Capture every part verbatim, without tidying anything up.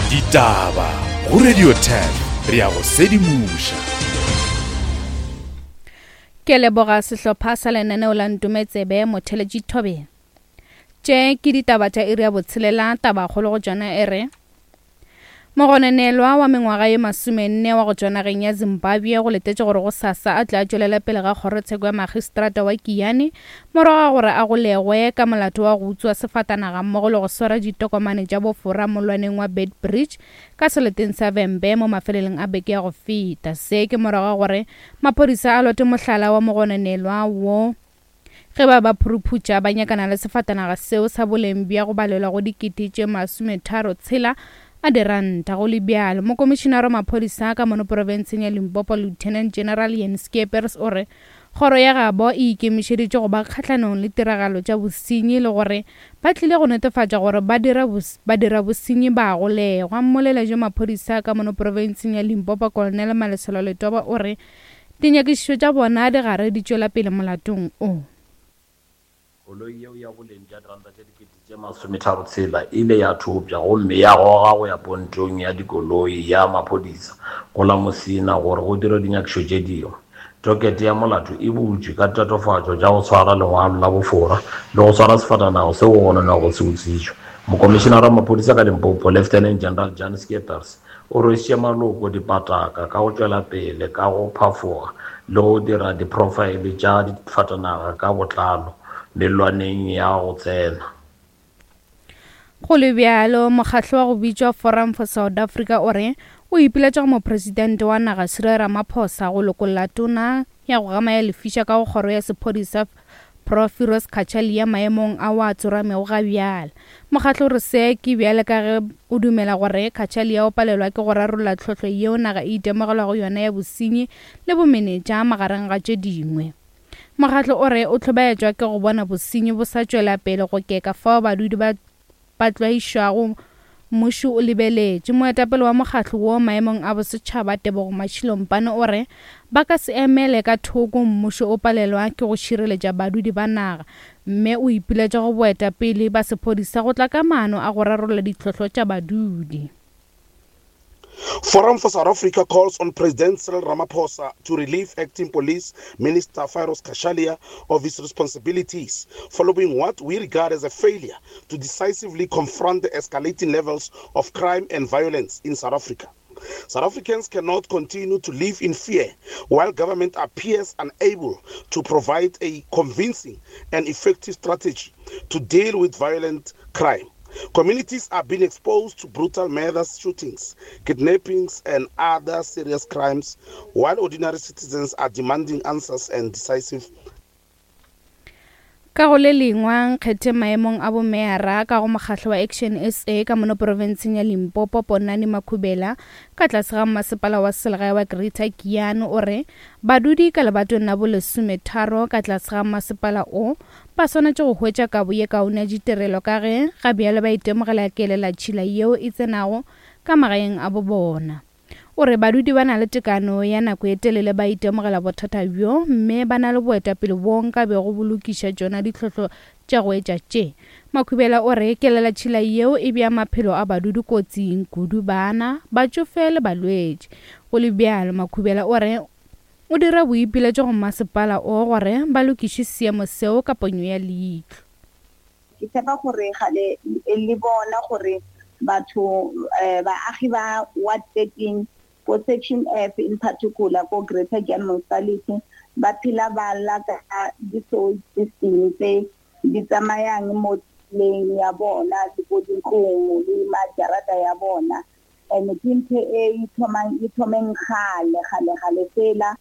Ditaba go Radio ten re ya go sedimoša. Ke leboga sehlopha sa lenaneo la Ntometsebe Motheletši Thobela. Tše ke ditaba tša iri ya botshelela, tabakgolo go tšona e re mogononelwa wa mengwaga ye masomenne wa go tšwa nageng ya Zimbabwe go letetše gore go sasa a tla tšwelela pele ga kgorotsheko ya magistrata wa Giyani morago ga gore a golegwe ka molato wa go utswa sefatanaga mmogo le go swara ditokomane tša bofora molwaneng wa Beitbridge ka seleteng sa Vhembe mo mafelelong a beke ya go feta. Se ke morago ga gore maphodisa a lote mohlala wa mogononelwa wo ge ba ba phuruphutša ba nyakana le sefatanaga seo sa boleng bja go balelwa go dikete tše masometharo tshela a diranta. Go le bjalo, mokomišenare wa maphodisa ka mono profenseng ya Limpopo Lieutenant General Jan Skeepers o re kgoro ya gabo e ikemišeditše go ba kgahlanong le tiragalo tša bosenyi le gore ba tlile go netefatša gore ba dira bos, ba dira bosenyi ba golegwa. Mmoleledi wa maphodisa ka mono profenseng ya Limpopo Colonel Malesela Letoba o re dinyakišišo tša bona di gare di tšwela pele molatong o. Koloi yeo ya boleng bja diranta tše dikete tše masometharo tshela e ile ya thopša gomme ya goga go ya pontong ya dikoloi ya maphodisa go la Musina gore go dirwe dinyakišišo tše dingwe. Tokete ya molato e butšwe ka tatofatšo tša go tshwara lengwalo la bofora le go swara sefatanaga seo go gononwago se utswitšwe. Mokomišenare wa maphodisa ka Limpopo Lieutenant General Jan Skeepers o rwešitše maloko dipataka ka go tšwela pele ka go phafoga le go dira diprofaele tša difatanaga ka botlalo mellwaneng ya go tsena. Go le bjalo, mokgatlo wa go bitšwa Forum for South Africa o re o ipiletša go mopresidente wa naga Cyril Ramaphosa go lokolla tona ya go gama ya lefiša ka go kgoro ya sephodisa Prof Firoz Cachalia maemong a wa tsoramego ga bjale. Mokgatlo o re se ke bjale ka ge o dumela gore Cachalia o palelwa ke go rarolla tlhohlo yeo naga e itemogelwago yona ya bosenyi le bomenetša magareng ga tše dingwe. Mokgatlo o re o hlobaetšwa ke go bona bosenyi bo sa tšwela pele go keka fao badudi ba ba tlwaišwago mmušo o lebeletše. Moetapele wa mokgatlo wo maemong a bosetšhaba Tebogo Mashilo-Mpane o re ba ka se emele ka thoko mmušo o palelwa ke go šireletša badudi ba naga, mme o ipiletša go boetapele ba sephodisa go tla ka maano a go rarolla ditlhohlo tša badudi. Forum for South Africa calls on President Cyril Ramaphosa to relieve acting police minister Firoz Cachalia of his responsibilities following what we regard as a failure to decisively confront the escalating levels of crime and violence in South Africa. South Africans cannot continue to live in fear while government appears unable to provide a convincing and effective strategy to deal with violent crime. Communities are being exposed to brutal murders, shootings, kidnappings, and other serious crimes, while ordinary citizens are demanding answers and decisive. Ka go le lengwe, nkgethe maemong a bomeyara ka go mokgatlo wa Action S A ka mono profenseng ya Limpopo Ponani Makhubela ka tlase ga masepala wa selegae wa Greater Giyani o re badudi ka lebatong la bolesometharo ka tlase ga masepala o ba swanetše go hwetša kabo ye kaone ya ditirelo ka ge ga bjale ba itemogela kelelatšhila yeo e tsenago ka magaeng a bo bona. O re badudi ba na le tekano ya nako e telele ba itemogela bothata bjo mme ba na le boetapele bo nka bego bo lokiša tšona ditlhohlo tša go etša tše. Makhubela o re kelelatšhila yeo e bea maphelo a badudi kotsing kudu bana, batšofe le balwetši. Go le bjalo, Makhubela o re o dira boipiletšo go masepala o gore ba lokiše seemo seo ka ponyo ya leihlo. Ke tshepa gore gale le bona gore batho eh, baagi ba ward thirteen ko section F in particular ko Greater Giyani Municipality ba phela ba lla ka di-sewage system tse di tsamayang mo tseleng ya bona le ko dintlong le majarata ya bona. And ke ntho e ithomang, e thomeng kgale, kgale, kgale fela.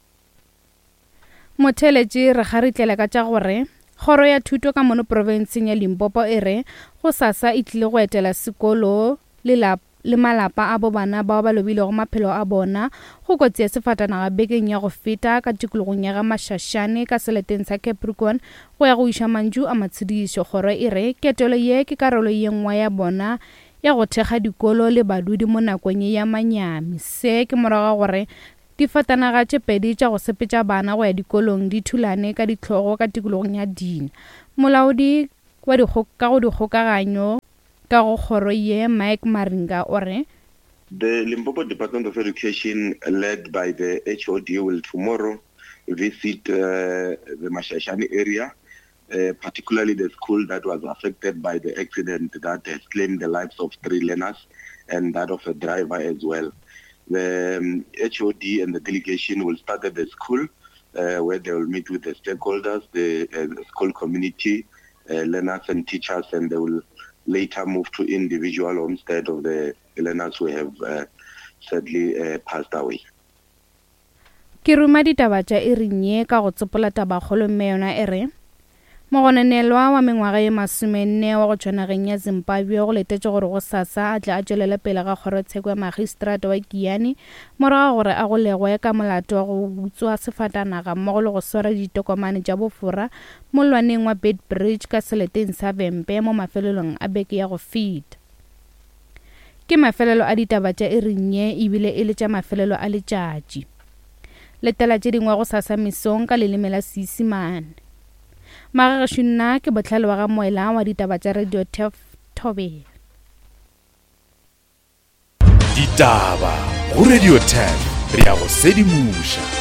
Motheletši re kgaritlela ka tša gore kgoro ya thuto ka mono profenseng ya Limpopo e re go sasa e tlile go etela sekolo le lap-, le malapa a bo bana bao ba lobilego maphelo a bona go kotsi ya sefatanaga bekeng ya go feta ka tikologong ya ga Mashashane ka seleteng sa Capricorn go ya go iša mantšu a matshedišo. Kgoro e re ketelo ye ke karolo ye nngwe ya bona ya go thekga dikolo le badudi mo nakong ye ya manyami. Se ke morago ga gore difatanaga tše pedi tša go sepetša bana go ya dikolong di thulane ka ditlhogo ka tikologong ya Dina. Molaodi wa dikgo-, ka go dikgokaganyo ka go kgoro ye Mike Maringa o re The Limpopo Department of Education, led by the H O D, will tomorrow visit, uh, the Mashashane area, uh, particularly the school that was affected by the accident that has claimed the lives of three learners and that of a driver as well. The, um, H O D and the delegation will start at the school, uh, where they will meet with the stakeholders, the, uh, the school community, uh, learners and teachers, and they will later move to individual homestead of the learners who have, uh, sadly, uh, passed away. Ke ruma ditaba tša iring ye ka go tsopola tabakgolo mme yona e re mogononelwa wa mengwaga ye masomenne wa go tšwa nageng ya Zimbabwe go letetše gore go sasa a tle a tšwelele pele ga kgorotsheko ya magistrata wa Giyani morago gore a golegwe ka molato wa go utswa sefatanaga mmogo le go swara ditokomane tša bofora mollwaneng wa Beitbridge ka seleteng sa Vhembe mo mafelelong a beke ya go feta. Ke mafelelo a ditaba tša iring ye ebile e le tša mafelelo a letšatši. Letela tše dingwe go sasa mesong ka leleme la Seisemane. Magagešo nna ke Bohlale wa ga Moela wa ditaba tša Radio Turf Thobela. Ditaba go Radio Turf, re ya go sedimoša.